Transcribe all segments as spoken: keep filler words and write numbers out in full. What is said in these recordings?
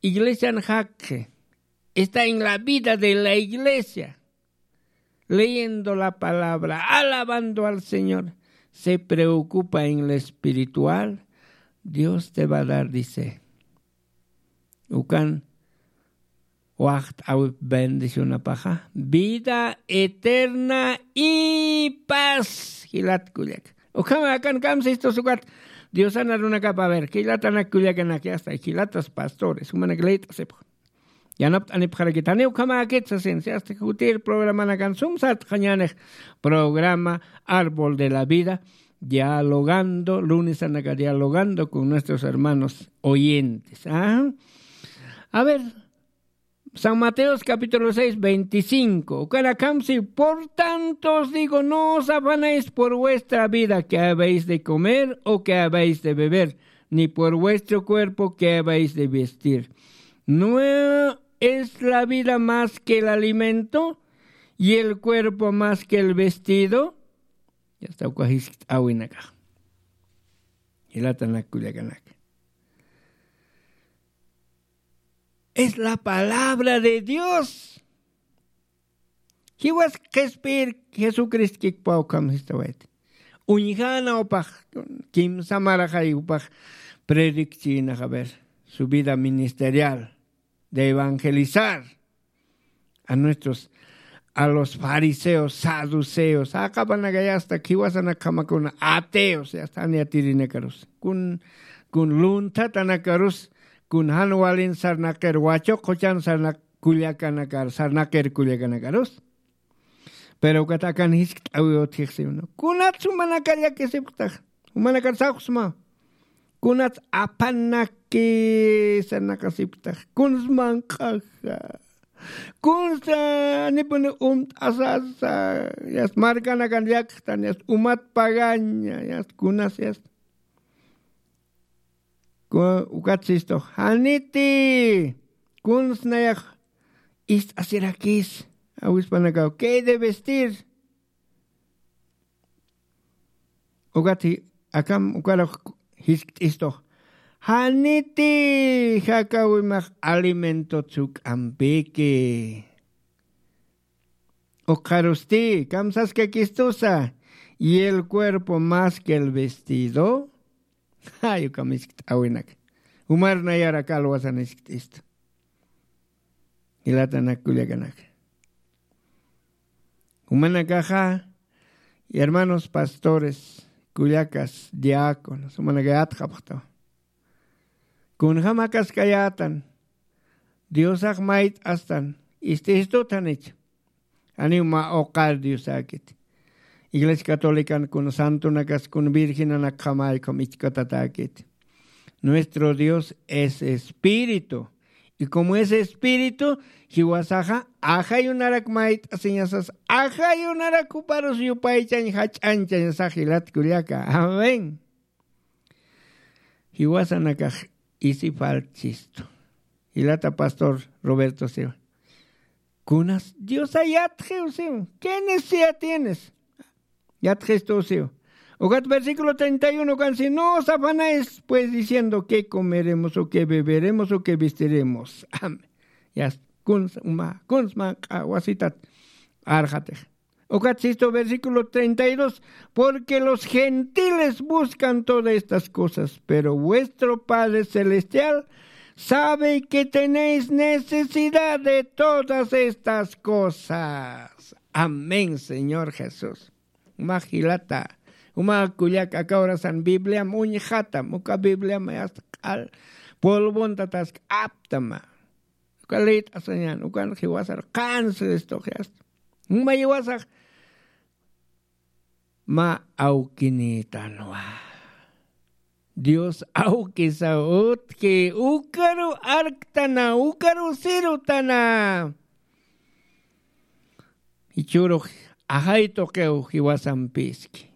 Iglesian jakxi, está en la vida de la iglesia, leyendo la palabra, alabando al Señor, se preocupa en lo espiritual, Dios te va a dar, dice. Ukan waxt'awip bendicionapaxa, vida eterna y paz. Jilat kullaka. Ukhama akan kamsistus ukat Diosan arunakapa, a ver, jilatanak kullakanak, ya está, jilatas pastores, jumanak leyt'asipxa. Yanapt'anipxarakitani ukhamäkit sasin, si hasta jutir programanakan sum sart'xañänix programa Árbol de la Vida, dialogando, lunesanaka dialogando con nuestros hermanos oyentes. ¿Ah? A ver, San Mateos capítulo seis, veinticinco. Ukanakamsi, por tanto os digo, no os afanéis por vuestra vida, que habéis de comer o que habéis de beber, ni por vuestro cuerpo, que habéis de vestir. ¿No es la vida más que el alimento, y el cuerpo más que el vestido? Ya está, uka jiskt'awinaka. Jilatanak kullakanak. Es la palabra de Dios. Jiwas qhispiyir Jesucristo kikpaw ukham jistawayt. Uñjäna upax, kimsa maraxay upax predicchïnax, a ver, su vida ministerial de evangelizar a nuestros, a los fariseos, saduceos, aqapanakay hasta jiwasanakjamakuna ateos, ya está, jan yatirinakarus. Kun, kun lunthatanakarus, kun jan walin sarnaqir, wachuq quchan sarnaq kullakanakar, sarnaqir kullakanakarus. Pero ukat akan jiskt'awi utjixsi, ¿no? Kunats jumanakar llakisipktax, jumanakar sawksma. Kunats apanaki sarnaqasipktax, kuns manq'axa. Kunsa nipuni umt'asasa, yast markanakan llakxtan, yast umat pagaña, yast kunas, yast. Ku-, ukat sistux, janiti, kuns nayax ist'asirakis, awispanakaw, ¿qué he de vestir? Ukat ji-, akam ukarux jiskt'istux, janiti jakawimax alimentot juk'ampiki. Ukxarusti, kamsaskakistusa, y el cuerpo más que el vestido. Ay, ukham jiskt'awinak. Jumar nayar aka alwasan jiskt'istu. Jilatanak kullakanak. Jumanakaxa, hermanos pastores, kullakas, diáconos, jumanakay atxapxtaw. Kunjam akaskayätan, Diosax mayt'astan, ist'istut janich. Janiw mä uqar Diosäkit. Iglesia Catolican kun santonakas kun virgenanakjamay ukham ichkatatäkit. Nuestro Dios es espíritu. Y como es espíritu, jiwasaxa ajayunarak mayt'asiñasas, ajayunarak juparus yupaychañ jach'añchañasax jilat kullaka. Amén. Jiwasanakax isi faltchistu. Jilata pastor Roberto siwa. Kunas Diosa yatxiw siw. ¿Qué necesidad tienes? Yatxistu siw. Ukat versículo treinta y uno kan si, no os afanéis, pues, diciendo, ¿qué comeremos o qué beberemos o qué vestiremos? Amén. Ya, kuns, uma, kuns manq'a wasitat arxatix. Ukat sistu versículo treinta y dos, porque los gentiles buscan todas estas cosas, pero vuestro Padre Celestial sabe que tenéis necesidad de todas estas cosas. Amén, Señor Jesús. Uma jilata, uma kullaka, aka horasan Bibliam uñjatam, uka Bibliam yast q'al polvontatas aptama. Uka leyt'asañän, ukan jiwasar qans Cristox yast. Uma jiwasax mä awkinïtanwa. Dios awkisa utji, ukaru arktana, ukaru sirutana. Jichhürux ajay tuqiw jiwasampiski.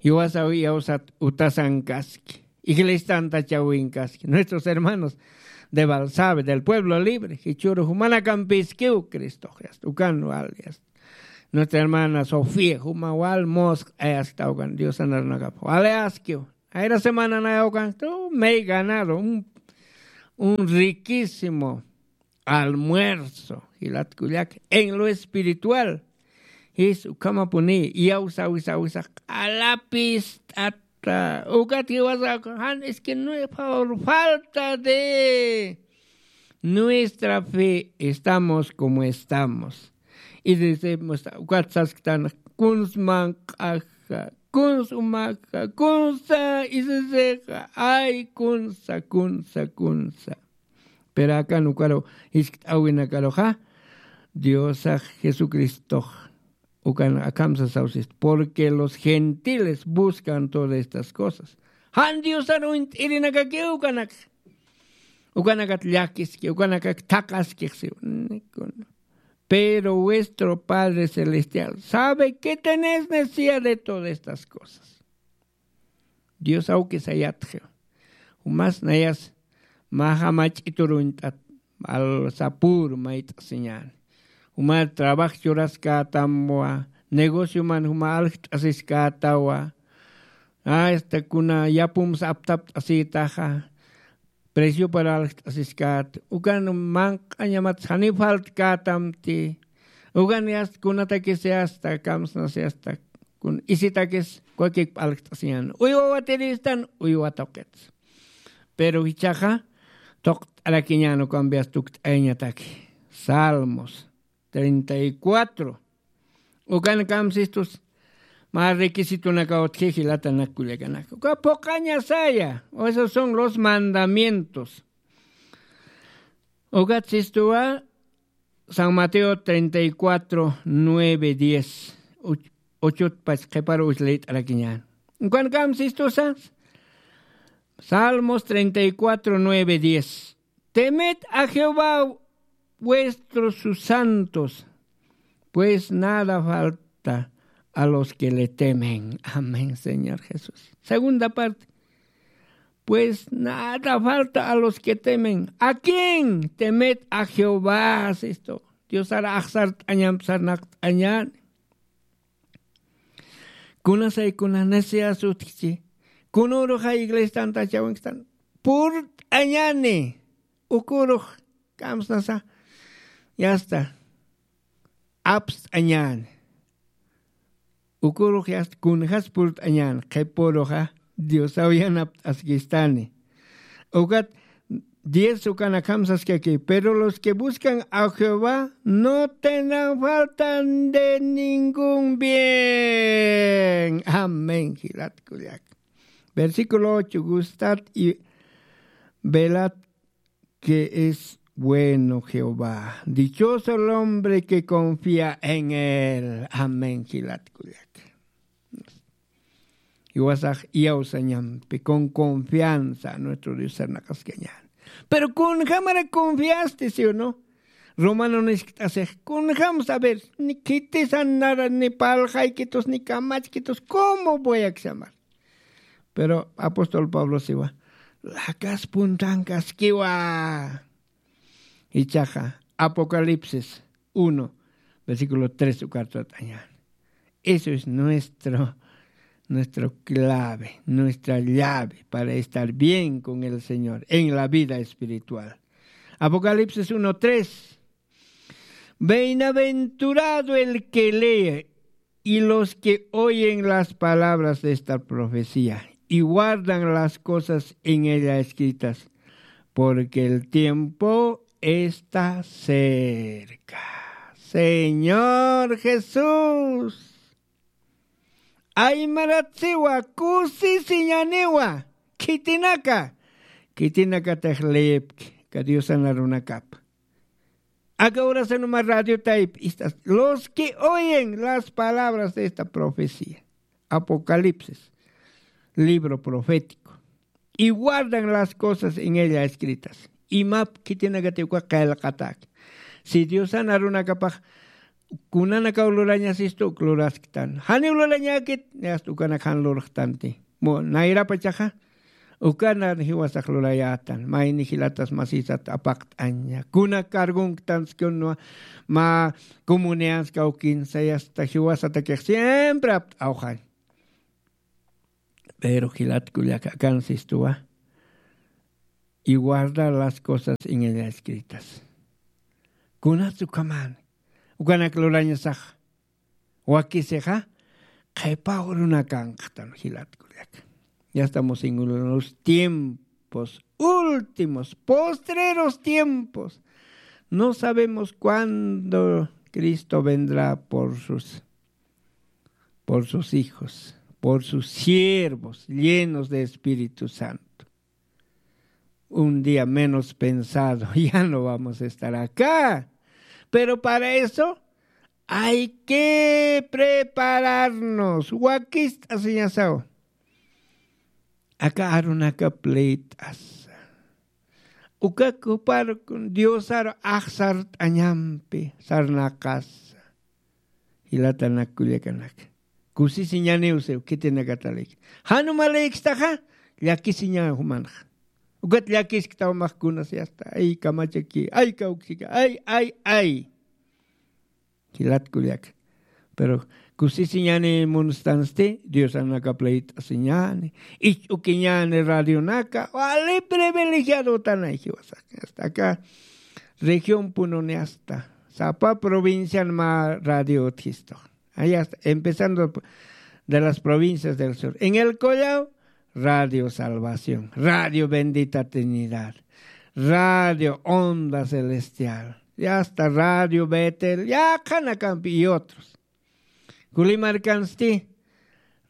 Jiwasaw iyawsat utasankaski, iglesiantachawinkaski, nuestros hermanos de Balsabe, del pueblo libre, jichhüru jumanakampiskiw Cristox yast, ukan wal yast. Nuestra hermana Sofía, juma wal musq'ayaskta ukan, Diosan arunakap waleaskiw. Ayra semana nayawkan, tú, me he ganado un, un riquísimo almuerzo, jilat kullaka, en lo espiritual. Jis ukhamapuni iyawsawisawisax q'alapist'ata. Ukat jiwasax jan, es que no es por falta de nuestra fe, estamos como estamos. Y decimos, ukat sasktan, kuns manq'aja, kuns umaja, kunsa isisixa, ay, kunsa, kunsa, kunsa. Pero akan ukaru, jiskt'awinakaruxa, Diosax Jesucristox ukan akham sasawsist, porque los gentiles buscan todas estas cosas. Jan Diosar uñt'irinakakiw ukanak. Ukanakat llakiski, ukanakak thaqaskix siw. Pero vuestro Padre Celestial sabe que tenéis necesidad de todas estas cosas. Dios awki sayatxiw. Jumas nayas mä jamach'itur uñt'at, al sapür mayt'asiñäni. Juma trabajo churaskätamwa, negocioman juma aljt'asiskätawa. Hasta kuna yapums aptapt'asïtaxa, preciopar aljt'asiskät. Ukan manq'añamat janiw faltkätamti. Ukan yasta kunatakis yasta kamsnas yasta kun isitakis kwakik p'alkt'asiñan. Uywa watiristan, uywa tuqits. Pero jichhaxa tuqt'arakiñan ukampi yasta tukt'ayañataki. Salmos treinta y cuatro. Ukan kamsistus mä requisitunakaw utji jilatanak kullakanaka. Uka phuqaña saya. O esos son los mandamientos. Ukat sistuwa San Mateo treinta y cuatro, nueve, diez. Uchutpach qhiparu uchlït'arakiñän. Ukan kamsistusa Salmos treinta y cuatro, nueve, diez. Temed a Jehová, vuestros sus santos, pues nada falta a los que le temen. Amén, Señor Jesús. Segunda parte. Pues nada falta a los que temen. ¿A quién? Temed a Jehová, sistu. Diosar axsart'añam sarnaqt'añäni. Kunasay kuna necesidad utjchi. Kunürux iglesiatantachawinktan purt'añäni. Ukürux kamsnasa yasta apst'añäni. Ukürux yasta kunjas purt'añäni, qhipüruxa Diosaw yanapt'askistani. Ukat diez ukan akham saskaki, pero los que buscan a Jehová no tendrán falta de ningún bien. Amén, jilat kullaka. Versículo ocho, gustad y velad que es bueno Jehová. Dichoso el hombre que confía en él. Amén, jilat kullaka. Jiwasax iyawsañampi con confianza nuestro Dios sarnaqaskañäni. Pero kunjamara confiasti, ¿sí o no? Romano niskt'asix, kunjam saber, ni khitisan nara, ni parlxaykitus, ni kamachkitus, ¿cómo voy a llamar? Pero apóstol Pablo siwa, lakas puntankaskiwa. Ichaxa, Apocalipsis uno, versículo tres ukartat'añäni. Eso es nuestro, nuestro clave, nuestra llave para estar bien con el Señor en la vida espiritual. Apocalipsis uno tres. Bienaventurado el que lee y los que oyen las palabras de esta profecía y guardan las cosas en ella escritas, porque el tiempo está cerca. Señor Jesús. Aymaratsiwa, kusisiñaniwa, khitinaka, khitinakatix leepki, ka Diosan arunakapa. Aka urasanuma radio taypi istas, los que oyen las palabras de esta profecía, Apocalipsis, libro profético, y guardan las cosas en ella escritas. Imap khitinakati uka qillqatak. Si Diosan arunakapax kunanakaw lurañasistu uk lurasktan. Janiw lurañäkit, yasta ukanak jan lurxtanti. Mu nayrapachaxa, ukanan jiwasax lurayätan. Mayni jilatas masisat apaqt'aña. Kuna cargonktanskun, mä comunidadskaw kinsa, yasta jiwasatakix siempre apt'awxañ. Pero jilat kullaka, akan sistuwa. y guardar las cosas en ellas escritas. Kunatsa ukhamäni, ukanak lurañasax wakisixa qhipa urunakanqtan jilat kullaka. Ya estamos en los tiempos últimos, postreros tiempos. No sabemos cuándo Cristo vendrá por sus, por sus hijos, por sus siervos llenos de Espíritu Santo. Un día menos pensado ya no vamos a estar acá. Pero para eso hay que prepararnos. Wakist'asiñasaw. Aka arunaka plit'asa. Uka kuparkun Diosar ax sart'añampi sarnaqasa. Jilatanak kullakanaka, kusisiñaniw siw khitinakatalik. Jan umalïkstaxa, llakisiña jumanxa. Ukat llakisktaw max kunas yasta, ay kamachaki, ay kawksika, ay ay ay. Jilat kullaka. Pero kusisiñani munstansti, Diosanaka plit'asiñani, ich'ukiñani radionaka, wali privilegiadotanay jiwasaki. Hasta acá región pununi hasta sapa provincian mä radio utjistu. Ahí hasta, empezando de las provincias del sur. En El Collao, Radio Salvación, Radio Bendita Trinidad, Radio Onda Celestial, y hasta Radio Betel, yaqhanakampi y otros. Kulimarkansti,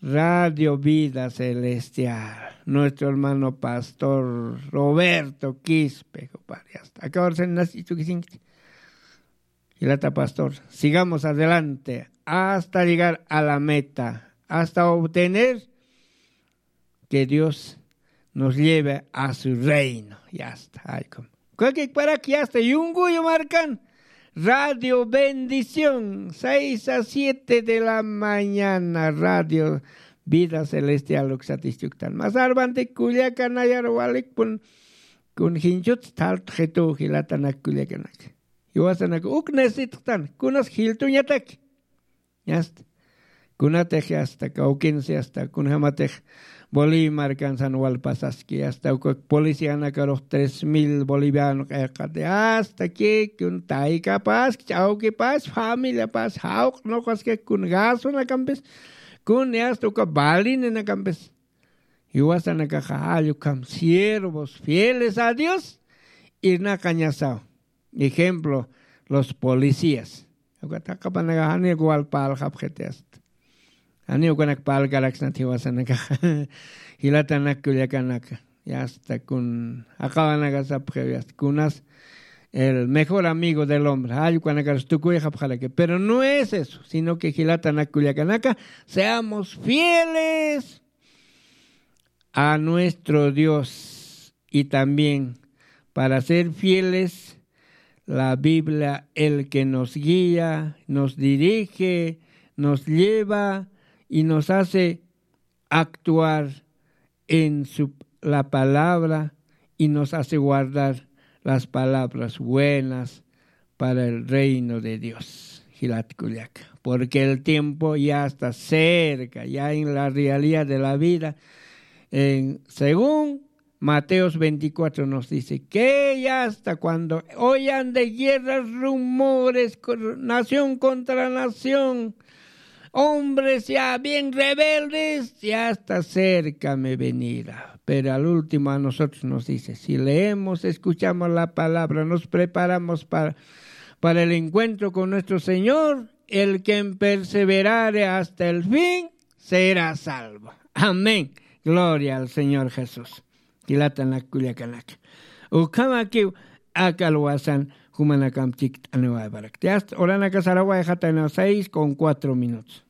Radio Vida Celestial, nuestro hermano pastor Roberto Quispe, compadre, hasta acá ahora se nace, Jilata pastor, sigamos adelante hasta llegar a la meta, hasta obtener que Dios nos lleve a su reino. Ya está. Ay, com-, kukik parak ya está. Yunguyu markan. Radio Bendición, seis a siete de la mañana, Radio Vida Celestial, uksatichuktan. Mas arbante kullaka nayar walikpun, kun jinchut tal jitu jilatanak kullakanak. Jiwasanaka uk necesitxtan, kunas jiltuñataki. Yasta. Kunatix yasta, kawkinsi yasta, kunjamatix Bolivia markansan walpasaski, yasta, uka policianakarux tres mil boliviano q'ayqati, yasta, ki, kun taykapaski, ch'awkipas, familiapas, jawq nuqaski, kun gasunakampis, kun yasta, uka balinanakampis. Jiwasanakaxa jall ukham siervos fieles a Dios irnaqañasaw. Ejemplo, los policías. Ukat jaqapanakax janiw walpalxapxiti asta. Janiw ukanak palkaraksnat jiwasanakaxa. Jilatanak kullakanaka. Yasta kun jaqawanakasapxiw yasta kunas el mejor amigo del hombre. Jall ukanakarus tukuyxapxaraki. Pero no es eso, sino que jilatanak kullakanaka, seamos fieles a nuestro Dios y también para ser fieles, la Biblia, el que nos guía, nos dirige, nos lleva y nos hace actuar en su, la palabra y nos hace guardar las palabras buenas para el reino de Dios. Jilat kullaka. Porque el tiempo ya está cerca, ya en la realidad de la vida. En, según Mateos veinticuatro nos dice que ya hasta cuando oyan de guerras, rumores, cor-, nación contra nación, hombres ya bien rebeldes, ya está cerca mi venida. Pero al último a nosotros nos dice, si leemos, escuchamos la palabra, nos preparamos para, para el encuentro con nuestro Señor, el quien perseverare hasta el fin será salvo. Amén. Gloria al Señor Jesús. Jilatanak kullakanaka. Ukhamakiw aka alwasan jumanakamp chikt'aniwayparakti. Hasta oranaka sarawayxatayna seis con cuatro minutos.